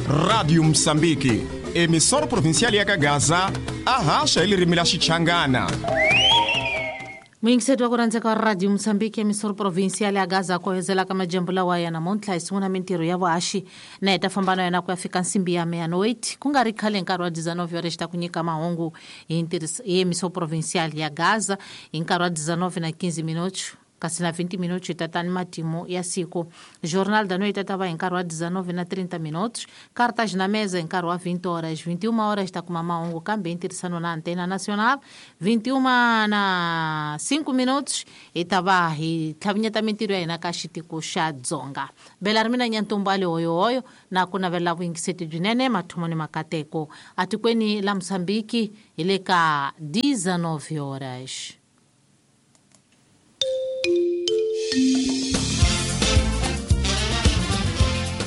Rádio Moçambique, emissora provincial ya Gaza, a haxa hi ririmi la Xichangana. Muyingiseti wa ku rhandzeka wa Radio Moçambique, emissora provincial ya Gaza, ku hezelaka majambu lawa ya namuntlha hi sungula mintirho ya vuhaxi na hi ta famba na yona ku ya fika nsimbi ya meia-noite. Ku nga ri khale, nkarhi wa 19 horas ta ku nyika mahungu hi hi emissora provincial ya Gaza hi nkarhi wa 19 na 15 minutos, kasi na 20 minutos hi ta ni matimu ya siku, Jornal da Noite ta va hi nkarhi wa 19 na 30 minutos, Cartas na Mesa hi nkarhi wa 20 horas. 21 horas ta kuma mahungu kambe hi ntirhisano na Antena Nacional. 21 na 5 minutos hi ta va hi tlhavinyeta mintirho ya hina ka xitiko xa Dzonga. Bela ri mina Nyantombali Hoyohoyo na ku navelela vuyingiseti byinene, mathomo ni makateko atikweni la Mosambiki. Hi le ka 19 horas.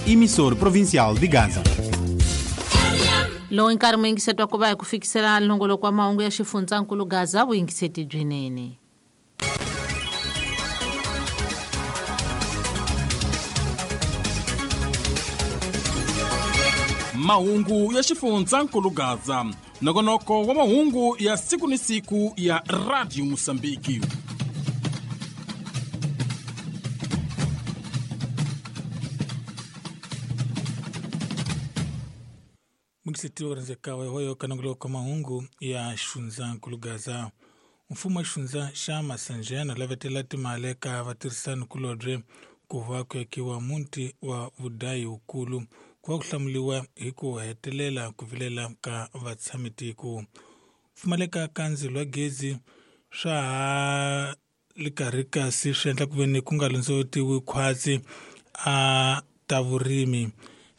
Emissor provincial de Gaza. Lowu nkarhi muyingiseti wa ku va hi ku fikisela nongoloko wa mahungu ya xifundzankulu Gaza. Vuyingiseti byinene. Mahungu ya xifundzankulu Gaza, nongonoko wa mahungu ya siku ni siku ya Radio Mosambiki. Muyingiseti wa rhandzeka wa hoyo ka nongoloko wa mahungu ya xifundzankulu Gaza. Mfumo wa xifundza xa Masanjena lavetela timali ka vatirhisani kulobye ku va ku akiwa muti wa vudayi wukulu, ku va ku hlamuriwa hi ku hetelela ku vilela ka vatshamitiko. Pfumaleka ka ndzilo wa gezi swa ha li karhi, kasi swi endla ku ve ni ku nga londzolotiwi khwatsi a ta vurimi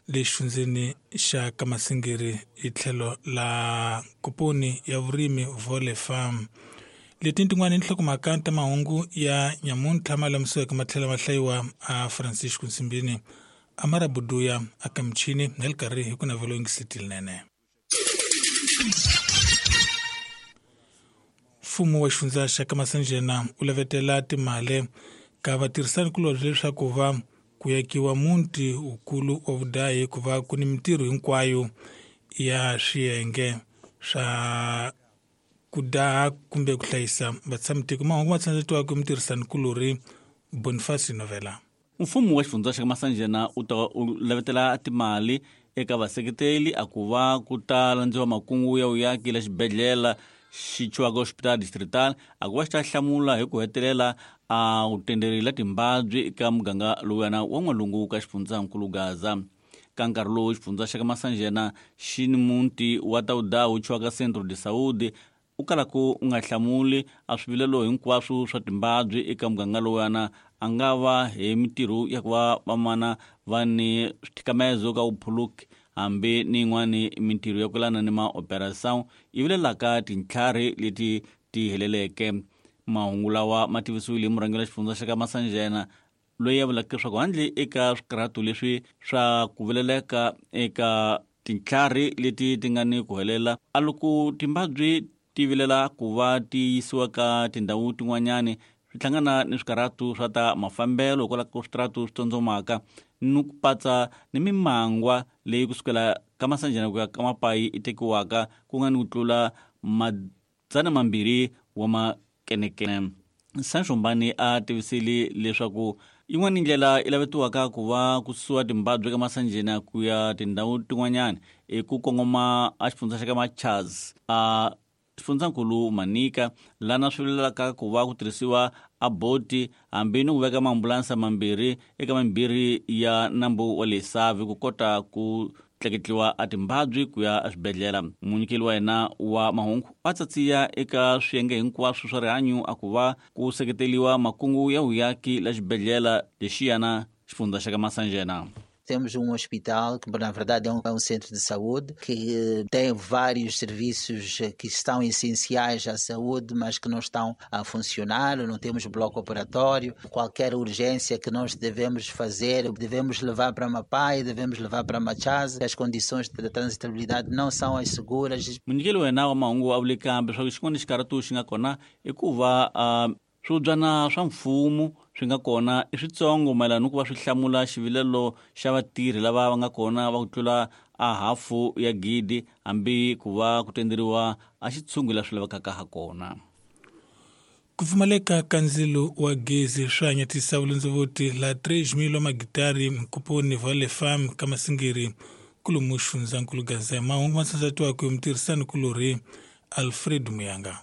le xifundzeni xa Kamasingiri hi tlhelo la komponi ya vurimi Vole Farm. Leti tin'wani nhlokomhaka ta mahungu ya nyamuntlha ma lamisiweke ma tlhela ma hlayiwa a Francisco Nsimbini, Amara Buduya aka michini na le karhi hi ku navelo yingiseti linene. Mfumo wa xifundza xa Kamasanjena wu lavetela timali ka vatirhisani kulobye leswaku va ku yakiwa muti wukulu wa vudayi, ku va ku ni mintirho hinkwayo ya swiyenge swa ku daha kumbe ku hlayisa vatshamitiko. Mahungu ma tsandzetiwaka mutirhisani kulori Boniface Novela. Mfumo wa xifundza xa Masanjena u ta u lavetela timali eka vaseketeli a ku va ku ta landziwa makungu ya vuyaki la xibedhlele xi chiwaka Hospital Distrital, a ku va xi ta hlamula hi ku hetelela a wu tenderila timbabyi eka muganga lowuyana wa n'walungu ka xifundzankulu Gaza. Ka nkarhi lowu, xifundza xa ka Masanjena xi ni muti wa tawuda wu chiwaka Centro de Saúde u kalaka u nga hlamuli a swivilelo hinkwaswo swa timbabyi eka muganga lowuyana, a nga va hi mintirho ya ku va vamana va ni swithikamezo ka vuphuluki, hambi ni yin'wani mintirho ya ku lana ni maoperação yi vilelaka tintlhari leti ti heleleke. Mahungu lawa ma tivisiwile hi murhangeri wa xifundza xa ka Masanjena, loyi a vulaka leswaku handle eka swikarhato leswi swa ku vileleka eka tintlhari leti ti nga ni ku helela, a loko timbabyi ti vilela ku va ti yisiwa ka tindhawu tin'wanyani, swi hlangana ni swikarhato swa ta mafambelo hikwalaho ka switaratu swi tsondzomaka ni ku patsa ni mimangwa leyi kusukela ka Masanjana ku ya ka Mapayi i tekiwaka ku nga ni ku tlula 200 wa makenekene. Sancho Mbani a tivisile leswaku yin'wana ndlela yi lavetiwaka ku va ku susiwa timbabyi ka Masanjena ku ya tindhawu tin'wanyana i ku kongoma a xifundza xa ka Machaz, a xifundzankulu Manika, lana swi vilelaka ku va ku tirhisiwa a boti hambi ni ku veka maambulansa mambirhi eka mambirhi ya nambu wa le Savi ku kota ku tleketliwa a timbabyi ku ya eswibedhlele. Munyikeli wa hina wa mahungu a tsatsiya eka swiyenge hinkwaswo swa rihanyu a ku va ku seketeliwa makungu ya vuyaki la xibedhlele lexiyana xifundza xa ka Masanjena. Temos um hospital que, na verdade, é um centro de saúde que tem vários serviços que estão essenciais à saúde, mas que não estão a funcionar. Não temos bloco operatório. Qualquer urgência que nós devemos fazer, devemos levar para Mapai, devemos levar para Machaz. As condições de transitabilidade não são as seguras. Munyikeli wa hina wa mahungu a vule kambe leswaku xin'wana xikarhatu xi nga kona i ku va Swibyana swa mfumo swi nga kona i switsongo mayelana ni ku va swi hlamula xivilelo xa vatirhi lava va nga kona va ku tlula a hafu ya gidi hambi ku va ku tenderiwa a xitshungu la swi lavekaka ha kona. Ku pfumaleka ka ndzilo wa gezi swi hanyatisa vulondzovuti la 3000 wa magitari mkuponi Vale Farm ka Masingiri kulumu xifundzankulu Gaza. Mahungu ma sansatiwaka hi mutirhisani kulorhi Alfred Muyanga.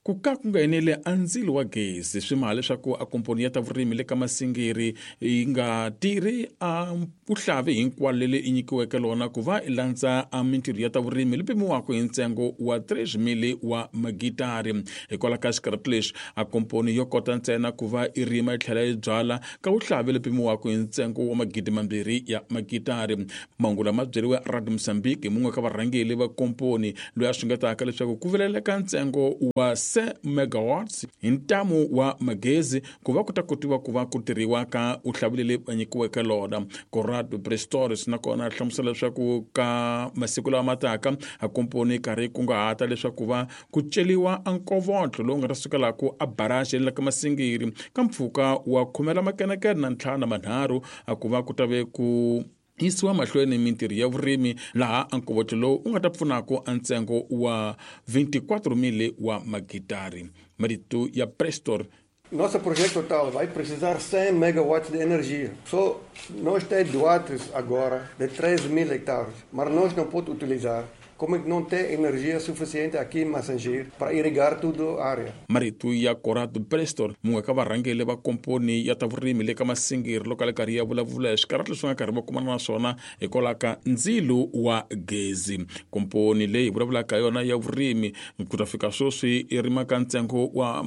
Ku ka ku nga enele a ndzilo wa gezi swi maha leswaku a komponi ya ta vurimi le ka Masingiri yi nga tirhi a vuhlavi hinkwalo leri i nyikiweke lona ku va i landza a mintirho ya ta vurimi li pimiwaka hi ntsengo wa 3000 wa magitari. Hikwalaho ka xikarhati lexi a komponi yo kota ntsena ku va i rima yi tlhela yi byala ka vuhlavi li pimiwaka hi ntsengo wa 2,000 ya magitari. Mahungu lama byeriwe Radio Mozambique hi mun'we ka varhangeli va komponi loyi a xungetaka leswaku ku vileleka ntsengo wa 100 megawatts hi ntamu wa magezi ku va ku ta kotiwa ku va ku tirhiwa ka vuhlavi leri va nyikiweke lona. Corrado Prestores nakona a hlamusela leswaku ka masiku lawa mataka a komponi karhi kunguhata leswaku va ku celiwa a nkovotlo lowu nga ta sukelaku a barrage la ka Masingiri ka mpfhuka wa 95 a ku va ku ta ve ku yisiwa mahlweni mintirho ya vurimi laha a nkovotlo lowu u nga ta pfunaka a ntsengo wa 24,000 wa magitari. Marito ya Prestor. Nosso projeto total vai precisar 100 megawatts de energia. Só nós temos doados agora de 3.000 hectares, mas nós não podemos utilizar. Como é que não tem energia suficiente aqui em Massangir para irrigar toda a área? Marito ya Corrado Prestor, mun'we ka varhangeli va komponi ya ta vurimi le ka Masingiri loko a le karhi ya vulavula hi swikarhati leswi nga karhi va kumana na swona hikwalaho ka ndzilo wa gezi. Komponi leyi vulavulaka yona ya vurimi ku ta fika sweswi i rima ka ntsengo wa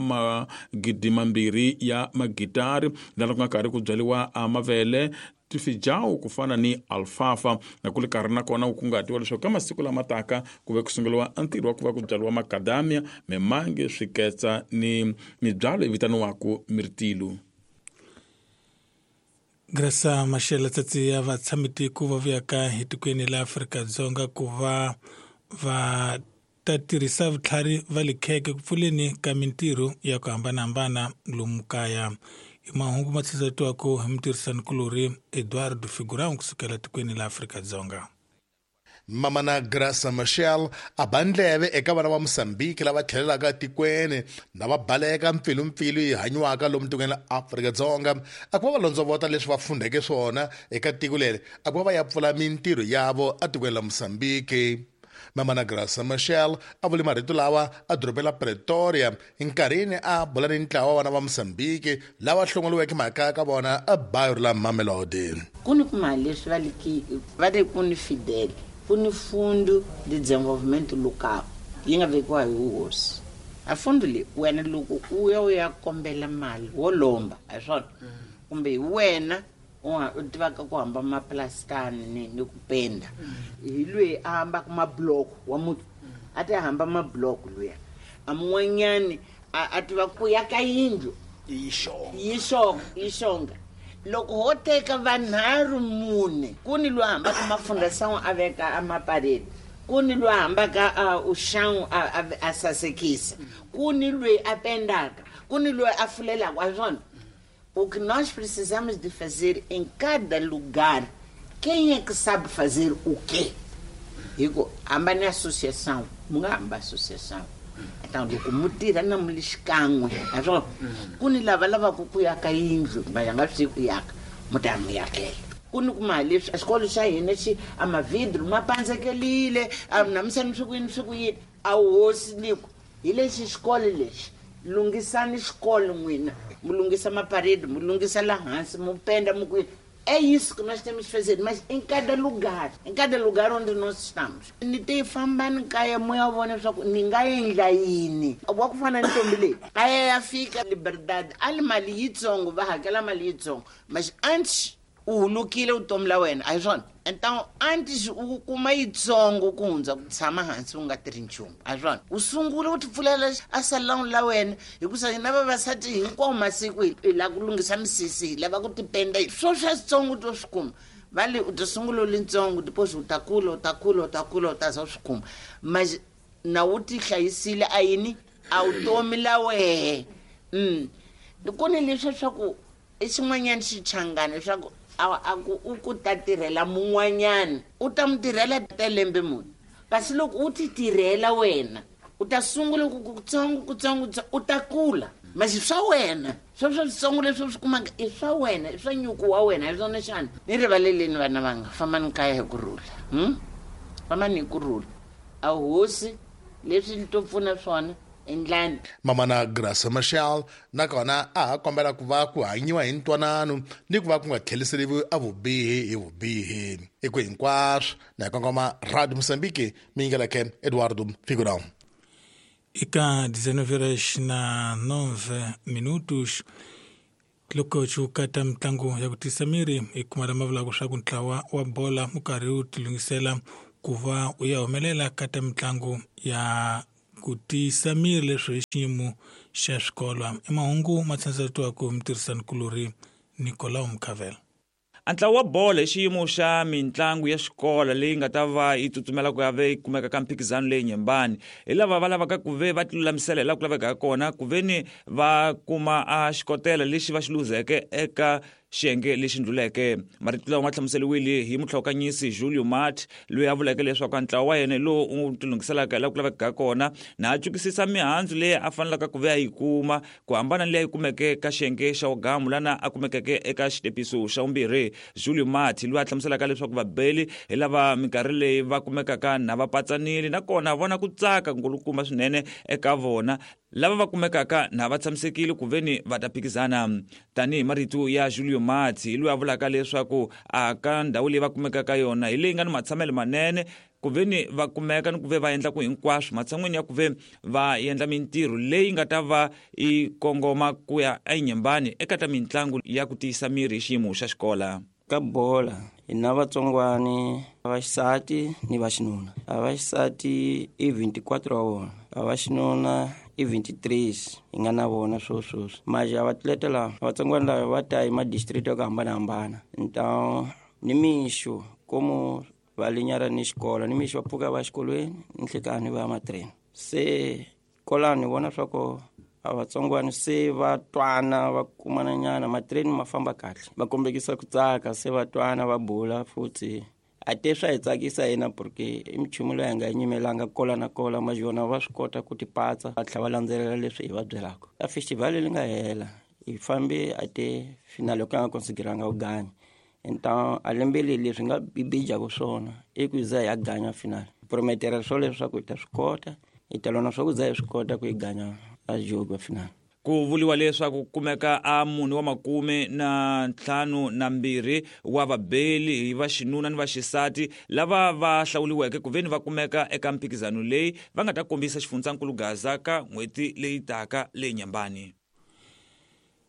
2,000 ya magitari laha ku nga karhi ku byariwa a mavele, tifijawu ku fana ni alfalfa na ku le karhi nakona ku kunguhatiwa leswaku ka masiku lama taka ku ve ku sunguriwa a ntirho wa ku va ku byariwa makadamia, mimange, swiketsa ni mibyalo yi vitaniwaka mirtilu. Graça Machel tsatsi ya vatshamitiko va vuyaka hi tikweni la Afrika-Dzonga ku va va ta tirhisa vutlhari va le kheke ku pfuleni ka mintirho ya ku hambanahambana lomu kaya. Hi mahungu ma tlhisetiwaka hi mutirhisanikulorhi Eduardo Figurão kusukela tikweni la Afrika-Dzonga. Mamana Graça Machel a ba ndleve eka vana va Mozambique lava tlhelelaka tikweni na va baleka mpfilumpfilu yi hanyiwaka lomu tikweni la Afrika-Dzonga a ku va va londzovota leswi va fundheke swona eka tiko leri a ku va va ya pfula mintirho yavo etikweni la Mozambique. Mamana Graça Machel a vule marito lawa a dorobeni la Pretoria nkarhini a bula ni ntlawa wa vana va Mozambique lava hlongoliweke makaya ka vona ebayo la Mamelodi. Ku ni kuma leswi va liki va ri ku ni Fidel, ku ni Fundo de Desenvolvimento Local yi nga vekiwa hi hosi. A fundo leyi wena loko u ya u ya kombela mali wo lomba a hi swona kumbe hi wena u tivaka ku hamba maplastani ni ku penda hi loyi a hambaka mabloko wa muti a ti hamba mabloko luya a mun'wanyani a tiva ku ya ka yindlu yi xonga loko ho teka vanharhu mune ku ni loyi a hambaka mafundasan'we a veka a mapareni ku ni loyi a hambaka a uxan'we a sasekisa ku ni loyi a pendaka ku ni loyi a fulelaka a swona. O que nós precisamos de fazer em cada lugar, quem é que sabe fazer o quê? Digo, hamba na associação, mungamba associação. Então, loko mutira na mulishikan'we, aswo ku ni lava lavaka ku yaka yindlu, va nga swi ku yaka, mutamu yakela. Ku ni kuma leswi xikolo xa hina xi a mavidru ma pandzekelile, a namusani swi ku yini swi ku yini, a hosi niku hi lexi xikolo lexi. Lunghisani xikolo n'wina, mu lunghisa maparede, mu lunghisa la hansi, mu penda, mu ku é isso que nós temos que fazer, mas em cada lugar onde nós estamos. Ni te fambani kaya moya wa vona leswaku ni nga endla yini. Wa ku fana ni ntombi leyi a ya fika Liberdade a li mali yitsongo, va hakela mali yitsongo, mas antes u hulukile vutomi la wena a hi swona. Então antes u kuma yitsongo ku hundza ku tshama hansi u nga tirhi nchumu a hi swona. U sungula u ti pfulela a salon la wena hikusa hina vavasati hinkwawo masiku hi lava ku lunghisa misisi, hi lava ku tipenda, swo swa switsongo to swi kuma. Va le u ta sungula u li ntsongo depois u ta kula u ta kula u ta kula u ta za u swi kuma, mas na u ti hlayisile a yini a vutomi la wehe. Ku ni leswi swa ku i xin'wanyana xichangani leswaku a ku u ku ta tirhela mun'wanyana u ta mu tirhela ta lembe muni, kasi loko u ti tirhela wena u ta sungula ku kutsongo kutsongo u ta kula, masi swa wena swo switsongo leswi u swi kumaka i swa wena, i swa nyuku wa wena, hi swona xana. Ni rivaleleni vana vanga, fambani kaya hi kurhula, fambani hi kurhula. A hosi leswi to pfuna swona endlani. Mamana Graça Machel nakona a ha kombela ku va ku hanyiwa hi ntwanano ni ku va ku nga tlheliseriwi a vubihi hi vubihi. I ku hinkwaswo na hi kongoma Radio Mozambique, mi yingeleke Eduardo Figurão. Eka 19:09 loko xi kata mitlangu ya ku tisa miri hi kuma lama vulaka swa ku ntlawa wa bola wu karhi wu tilunghisela ku va u ya humelela ka ta mitlangu ya ku tiyisa miri leswi hi xiyimo xa swikolo. I mahungu ma tshanisetiwaka hi mutirhisanikulorhi Nicolau Mkhavela. A ntlawa wa bolo hi xiyimo xa mitlangu ya xikolo leyi nga ta va yi tsutsumela ku ya ve yi kumeka ka mphikizano leyi nyembani hi lava va lavaka ku ve va tilulamisela hi laha ku lavekaka kona ku ve ni va kuma a xikotela lexi va xi luzeke eka xiyenge lexi ndluleke. Marito lawa ma hlamuseriwile hi muhlawukanyisi Julio Mart, loyi a vuleke leswaku a ntlawa wa yena lowu u tilunghiselaka hi laha ku lavekaka kona na a cukisisa mihandzu leyi a fanelaka ku ve a yi kuma ku hambana ni leyi a yi kumeke ka xiyenge xa wugamu lana a kumekeke eka xitepiso xa vumbirhi. Julio Mart loyi a hlamuselaka leswaku vabeli hi lava minkarhi leyi va kumekaka na va patsanile nakona vona ku tsaka nkulukumba swinene eka vona lava va kumekaka na va tshamisekile ku veni va ta phikizana. Tanihi marito ya Julio Mati loyi a vulaka leswaku a ka ndhawu leyi va kumekaka yona hi leyi nga ni matshamelo manene ku veni va kumeka ni ku ve va endla ku hinkwaswo matshan'wini ya ku ve va endla mintirho leyi nga ta va yi kongoma ku ya enyembani eka ta mitlangu ya ku tiyisa miri hi xiyimo xa xikola. Ka bola hi na vatsongwani va xisati ni va xinuna. A va xisati i 24 wa vona, a va xinuna i 23 hi nga na vona swoswoswi. Maje a vatleta lava vatsongwani lava va ta hi madistrict ya ku hambanahambana, então ni mixo komu va linyara ni xikolo, ni mixo va pfuka va xikolweni, ni nhlekani va ya matreni. Se kolani vona swa ku a vatsongwani se va twana va kumana nyana, matreni ma famba kahle, va kombekisa ku tsaka, se va twana va bula futhi. A te swa hi tsakisa hina porque i minchumu loyi hi nga yi nyimelanga kola na kola, majona va swi kota ku tipatsa va tlhela va landzelela leswi hi va byelaka. A festival leyi nga hela hi fambe a te finale yo ka nga konsideranga ku ganya, então a lembe leri leswi nga bibijaka swona i ku za hi ya ganya finale, prometera swo leswaku hi ta swi kota, hi ta lona swa ku za hi swi kota ku yi ganya a jogo finale. Ku vuliwa leswaku kumeka a munhu wa 52 wa vabeli hi va xinuna ni va xisati lava va hlawuliweke ku veni va kumeka eka mphikizano leyi va nga ta kombisa xifundzankulu Gaza ka n'hweti leyi taka leyi nyambani.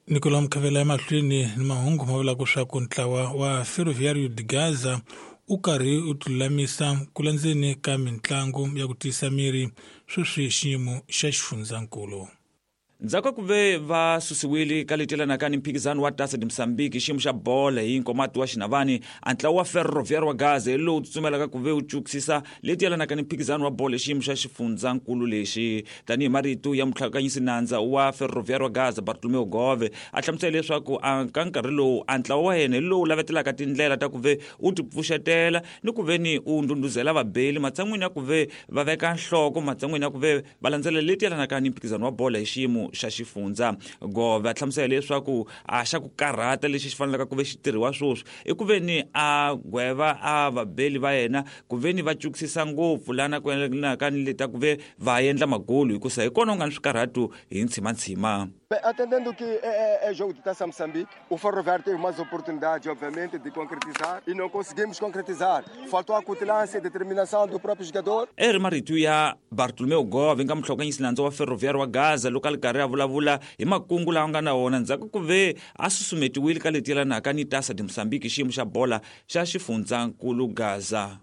Nicolau Mkhavela emahlweni ni mahungu ma vulaka swa ku ntlawa wa Ferroviário de Gaza u karhi u tilulamisa ku landzeni ka mitlangu ya ku tiyisa miri sweswi xiyimo xa xifundzankulu. Ndzhaku ka ku ve va susiwile ka leti yelanaka ni mphikizano wa Taça de Moçambique xiyimo xa bolo hi nkomati wa xinavani, a ntlawa wa Ferroviário wa Gaza hi lowu tsutsumelaka ku ve wu cukisisa leti yelanaka ni mphikizano wa bolo hi xiyimo xa xifundzankulu lexi. Tanihi marito ya muhlakanyisi nandza wa Ferroviário wa Gaza Bartolomeu Gove, a hlamusela leswaku a ka nkarhi lowu a ntlawa wa yena hi lowu lavetelaka tindlela ta ku ve u tipfuxetela ni ku ve ni u ndhundhuzela vabeli matshan'wini ya ku ve va veka nhloko, matshan'wini ya ku ve va landzela leti yelanaka ni mphikizano wa bolo hi xiyimo xa xifundza. Gove a hlamusela leswaku a xa ku karhata lexi xi fanelaka ku ve xi tirhiwa sweswi i ku ve ni a gweva a vabeli va yena ku ve ni va cukisisa ngopfu lana ku yelanaka ni leta ku ve va endla magolu, hikusa hi kona ku nga ni swikarhatu hi ntshimantshima. Bem, atendendo que é jogo de Taça Moçambique, o Ferroviário teve mais oportunidade, obviamente, de concretizar e não conseguimos concretizar. Faltou a cutilância e determinação do próprio jogador. Eri marito ya Bartolomeu Gove nga muhlokanyisi nandza wa Ferroviário wa Gaza loko a li karhi a vulavula hi makungu lawa nga na wona ndzhaku ku ve a susumetiwile ka leti yelanaka ni Taça de Moçambique xiyimo xa bola xa xifundzankulu Gaza.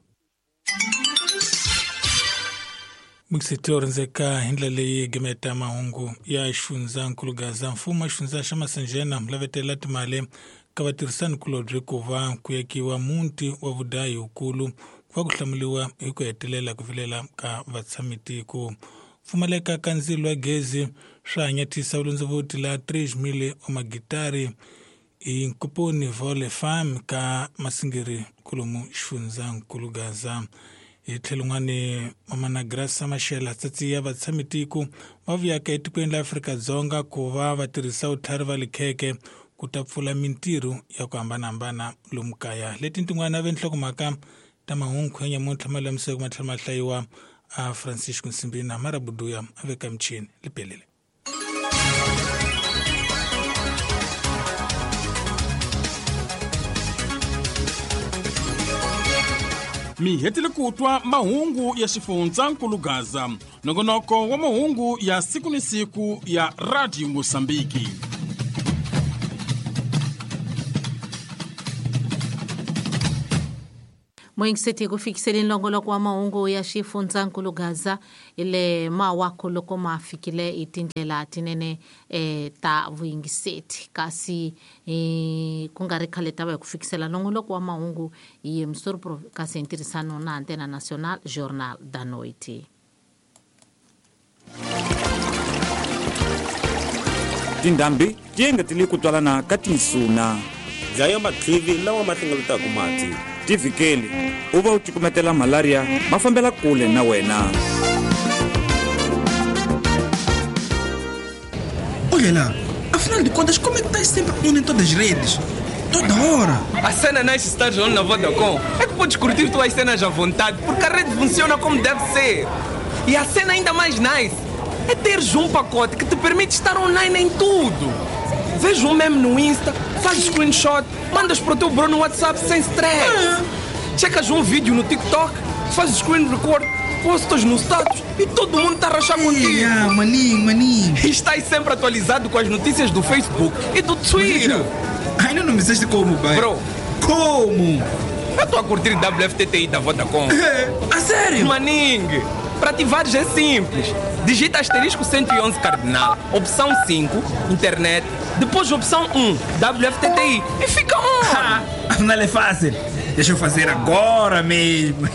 Mixiti yo rindzeka hi ndlela leyi gimeta mahungu ya xifundzankulu Gaza. Mfumo wa xifundza xa Masanjena lavetela timali ka vatirhisanikulobye ku va ku yakiwa muti wa vudayi wukulu ku va ku hlamuriwa hi ku hetelela ku vilela ka vatshamitiko. Pfumaleka ka ndzilo wa gezi swa hanyatisa vulondzovuti la 3000 wa magitari hi Nkupuni Vole Farm ka Masingiri kolomu xifundzankulu Gaza. Hi tlhelo n'wani Mamana Graça Machel tsatsiya vatshamitiko va vuyaka etikweni la Afrika-Dzonga ku va va tirhisa vutlhari va likheke ku ta pfula mintirho ya ku hambanahambana lomu kaya. Leti tin'wana ve nhlokomhaka ta mahungu ya nyamuntlha ma lamiseke ma tlhela ma hlayiwa a Francisco Nsimbina Marabuduya a veka michini lipelele. Mi hetile ku twa mahungu ya xifundzankulu Gaza, nongonoko wa mahungu ya siku ni siku ya Radio Mosambiki. Moyingiseti ku fikiseleni longoloko wa mahungu ya xifundzankulu Gaza ile mawako loko ma fikile hi tindlela tinene ta vuyingiseti kasi ku nga ri khale ta va hi ku fikisela longoloko wa mahungu hi Msuri kasi hi ntirhisano na Antena Nacional Jornal da Noite. Tindhambi ti engetele ku twalana ka tinsuna. Dlaya matlivi lawa ma hlengeletaka mati. Tivikeli u va u cukumetela malaria ma fambela kule na wena. Olha lá, afinal de contas, como é que estás sempre on em todas as redes? Toda hora! A cena nice estar on na Vodacom é que podes curtir tuas cenas à vontade, porque a rede funciona como deve ser. E a cena ainda mais nice é teres um pacote que te permite estar online em tudo. Vês um meme no Insta, fazes screenshot, mandas para o teu bro no WhatsApp sem stress. Checas um vídeo no TikTok, fazes screen record, postas no status e todo mundo está a rachar contigo. Ah, maninho, maninho. E estás sempre atualizado com as notícias do Facebook e do Twitter. Ainda não me disseste como, pai. Bro. Como? Eu estou a curtir WFTTI da Vodacom. A sério? Maninho, para ativares é simples. Digita asterisco 111 cardinal, opção 5, internet, depois opção 1, WFTTI e fica on! Afinal é fácil. Deixa eu fazer agora mesmo.